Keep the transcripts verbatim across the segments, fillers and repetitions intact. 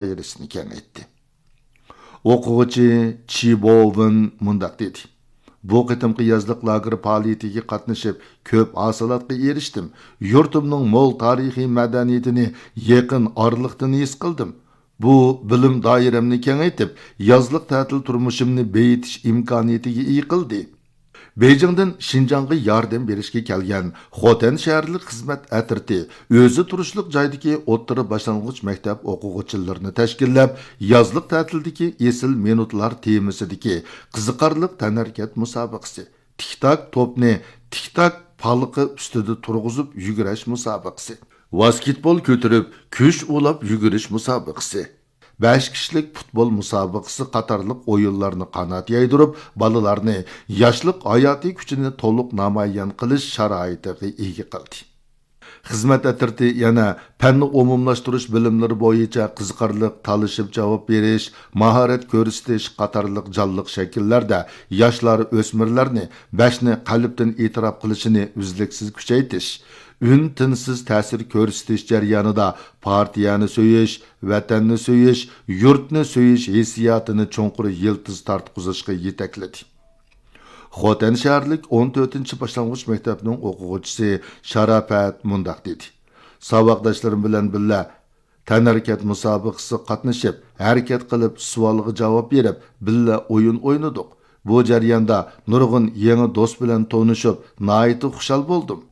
دائىرىسىنى كېڭەيتتى. ئوقۇغۇچى چى بوۋېن مۇنداق دېدى: بۇ قېتىمقى يازلىق لاگېر پائالىيىتىگە قاتنىشىپ، كۆپ ھاسىلاتقا ئېرىشتىم. يۇرتۇمنىڭ مول تارىخىي مەدەنىيىتىنى يېقىن ئارىلىقتىن ھېس قىلدىم. بۇ بىلىم دائىرەمنى كېڭەيتىپ، يازلىق تەتىل تۇرمۇشۇمنى بېيىتىش ئىمكانىيىتىگە ئىگە قىلدى. بېيجىڭدىن شىنجاڭغا ياردەم بېرىشكە كەلگەن خوتەن شەھەرلىك خىزمەت ئەترىتى ئۆزى تۇرۇشلۇق جايدىكى ئوتتۇرا باشلانغۇچ مەكتەپ ئوقۇغۇچىلىرىنى تەشكىللەپ، يازلىق تەتىلدىكى ئېسىل مىنۇتلار تېمىسىدىكى قىزىقارلىق تەنھەرىكەت مۇسابىقىسى، تىك-تاك توپنى تىك-تاك پالىقى ئۈستىدە تۇرغۇزۇپ يۈگۈرۈش مۇسابىقىسى، ۋاسكېتبول كۆتۈرۈپ كۈچ ئۇلاپ يۈگۈرۈش مۇسابىقىسى، بەش كىشىلىك پۇتبول مۇسابىقىسى قاتارلىق ئويۇنلارنى قانات يايدۇرۇپ، بالىلارنى ياشلىق ھاياتىي كۈچىنى تولۇق نامايان قىلىش شارائىتىغا ئىگە قىلدى. خىزمەت ئەترىتى يەنە پەننى ئومۇملاشتۇرۇش بىلىملىرى بويىچە قىزىقارلىق تالىشىپ جاۋاب بېرىش، ماھارەت كۆرسىتىش قاتارلىق جانلىق شەكىللەردە ياشلار، ئۆسمۈرلەرنى بەشنى قەلبتىن ئېتىراپ قىلىشىنى ئۈزلۈكسىز كۈچەيتىش، ئۈن-تىنسىز تەسىر كۆرسىتىش جەريانىدا پارتىيەنى سۆيۈش، ۋەتەننى سۆيۈش، يۇرتنى سۆيۈش ھېسسىياتىنى چوڭقۇر يىلتىز تارتقۇزۇشقا يېتەكلىدى. خوتەن شەھەرلىك ئون تۆتىنچى باشلانغۇچ مەكتەپنىڭ ئوقۇغۇچىسى شاراپەت مۇنداق دېدى: ساۋاقداشلىرىم بىلەن بىللە تەنھەرىكەت مۇسابىقىسىگە قاتنىشىپ، ھەرىكەت قىلىپ، سوئالغا جاۋاب بېرىپ، بىللە ئويۇن ئوينىدۇق. بۇ جەرياندا نۇرغۇن يېڭى دوست بىلەن تونۇشۇپ، ناھايىتى خۇشال بولدۇم.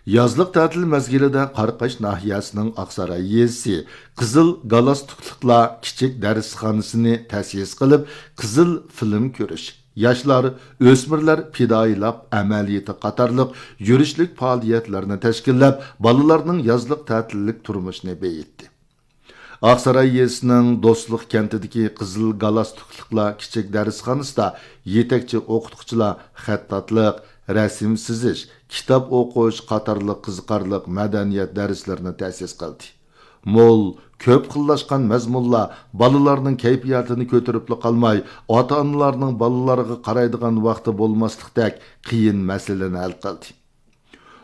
يازلىق تەتىل مەزگىلىدە قاراقاش ناھىيەسىنىڭ ئاقساراي يېزىسى قىزىل گالستۇكلۇقلار كىچىك دەرسخانىسىنى تەسىس قىلىپ، قىزىل فىلىم كۆرۈش، ياشلار، ئۆسمۈرلەر پىدائىيلىق ئەمەلىيىتى قاتارلىق يۈرۈشلۈك پائالىيەتلەرنى تەشكىللەپ، بالىلارنىڭ يازلىق تەتىللىك تۇرمۇشىنى بېيىتتى. ئاقساراي يېزىسىنىڭ دوستلۇق كەنتىدىكى قىزىل گالستۇكلۇقلار كىچىك دەرسخانىسىدا يېتەكچى ئوقۇتقۇچىلار خەتتاتلىق، رەسىم سىزىش، كىتاب ئوقۇش قاتارلىق قىزىقارلىق مەدەنىيەت دەرسلىرىنى تەسىس قىلدى. مول، كۆپ خىللاشقان مەزمۇنلار بالىلارنىڭ كەيپىياتىنى كۆتۈرۈپلا قالماي، ئاتا-ئانىلارنىڭ بالىلارغا قارايدىغان ۋاقتى بولماسلىقتەك قىيىن مەسىلىنى ھەل قىلدى.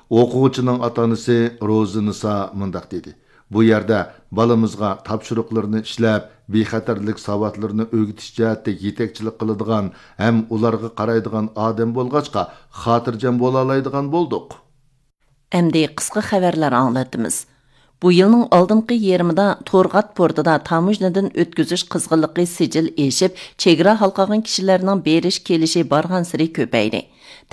ئوقۇغۇچىنىڭ ئاتا-ئانىسى روزىنىسا مۇنداق دېدى: بۇ يەردە بالىمىزغا تاپشۇرۇقلىرىنى ئىشلەپ، بىخەتەرلىك ساۋاتلىرىنى ئۆگىتىش جەھەتتە يېتەكچىلىك قىلىدىغان ھەم ئۇلارغا قارايدىغان ئادەم بولغاچقا، خاتىرجەم بولالايدىغان بولدۇق. ئەمدى قىسقا خەۋەرلەر ئاڭلىتىمىز. بۇ يىلنىڭ ئالدىنقى يېرىمىدا تورغات پورتىدا تاموژنىدىن ئۆتكۈزۈش قىزغىنلىقى سىجىل ئېشىپ، چېگرا ھالقىغان كىشىلەرنىڭ بېرىش-كېلىشى بارغانسېرى كۆپەيدى.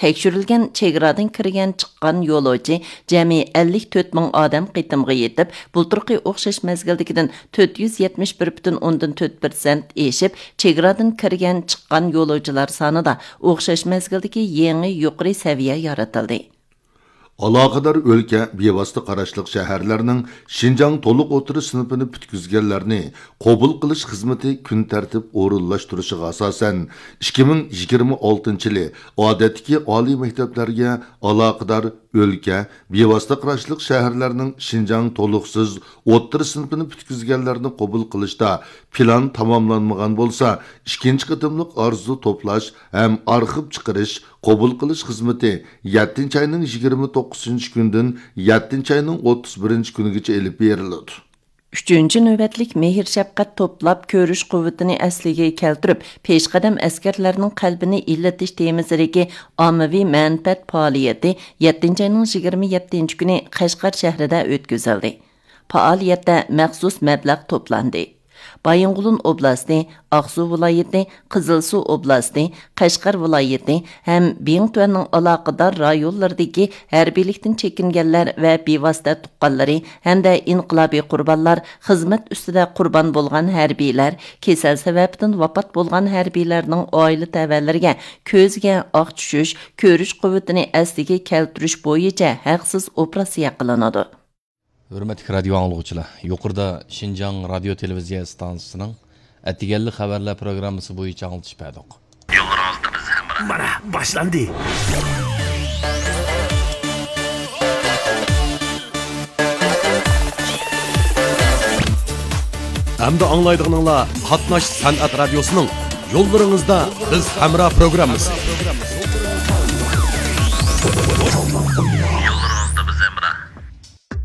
تەكشۈرۈلگەن چېگرادىن كىرگەن-چىققان يولۇچى جەمئىي ئەللىك تۆت مىڭ ئادەم قېتىمغا يېتىپ، بۇلتۇرقى ئوخشاش مەزگىلدىكىدىن تۆت يۈز يەتمىش بىر پۈتۈن ئوندىن تۆت پىرسەنت ئېشىپ، چېگرادىن كىرگەن-چىققان يولۇچىلار سانىدا ئوخشاش مەزگىلدىكى يېڭى يۇقىرى سەۋىيە يارىتىلدى. ئالاقىدار ئۆلكە، بىۋاسىتە قاراشلىق شەھەرلەرنىڭ شىنجاڭ تولۇق ئوتتۇرا سىنىپىنى پۈتكۈزگەنلەرنى قوبۇل قىلىش خىزمىتى كۈن تەرتىپ ئورۇنلاشتۇرۇشىغا ئاساسەن، ئىككى مىڭ يىگىرمە ئالتىنچى يىلى ئادەتتىكى ئالىي مەكتەپلەرگە ئالاقىدار ئۆلكە، بىۋاسىتە قاراشلىق شەھەرلەرنىڭ شىنجاڭ تولۇقسىز ئوتتۇرا سىنىپىنى پۈتكۈزگەنلەرنى قوبۇل قىلىشتا پىلان تاماملانمىغان بولسا، ئىككىنچى قېتىملىق ئارزۇ توپلاش ھەم ئارخىپ چىقىرىش، قوبۇل قىلىش خىزمىتى يەتتىنچى ئاينىڭ يىگىرمە توققۇزىنچى كۈنىدىن يەتتىنچى ئاينىڭ ئوتتۇز بىرىنچى كۈنىگىچە ئېلىپ بېرىلىدۇ. ئۈچىنچى نۆۋەتلىك مېھىر-شەپقەت توپلاپ كۆرۈش قۇۋۋىتىنى ئەسلىگە كەلتۈرۈپ، پېشقەدەم ئەسكەرلەرنىڭ قەلبىنى ئىللىتىش تېمىسىدىكى ئاممىۋى مەنپەئەت پائالىيىتى يەتتىنچى ئاينىڭ يىگىرمە يەتتىنچى كۈنى قەشقەر شەھىرىدە ئۆتكۈزۈلدى. پائالىيەتتە مەخسۇس مەبلەغ توپلاندى. بايىنغولىن ئوبلاستى، ئاقسۇ ۋىلايىتى، قىزىلسۇ ئوبلاستى، قەشقەر ۋىلايىتى ھەم بىڭتۈەننىڭ ئالاقىدار رايونلىرىدىكى ھەربىيلىكتىن چېكىنگەنلەر ۋە بىۋاسىتە تۇغقانلىرى ھەمدە ئىنقىلابىي قۇربانلار، خىزمەت ئۈستىدە قۇربان بولغان ھەربىيلەر، كېسەل سەۋەبىدىن ۋاپات بولغان ھەربىيلەرنىڭ ئائىلە تەۋەلىرىگە كۆزىگە ئاق چۈشۈش، كۆرۈش قۇۋۋىتىنى ئەسلىگە كەلتۈرۈش بويىچە ھەقسىز ئوپېراتسىيە قىلىنىدۇ. ھۆرمەتلىك رادىيو ئاڭلىغۇچىلار، يۇقىرىدا شىنجاڭ رادىيو تېلېۋىزىيە ئىستانسىسىنىڭ ئەتىگەنلىك خەۋەرلەر پروگراممىسى بويىچە ئاڭلىتىش بەردۇق. يوللىرىڭىزدا بىز ھەمراھ. مانا، باشلاندى. ئەمدى ئاڭلايدىغىنىڭلار قاتناش سەنئەت رادىيوسىنىڭ يوللىرىڭىزدا بىز ھەمراھ پروگراممىسى.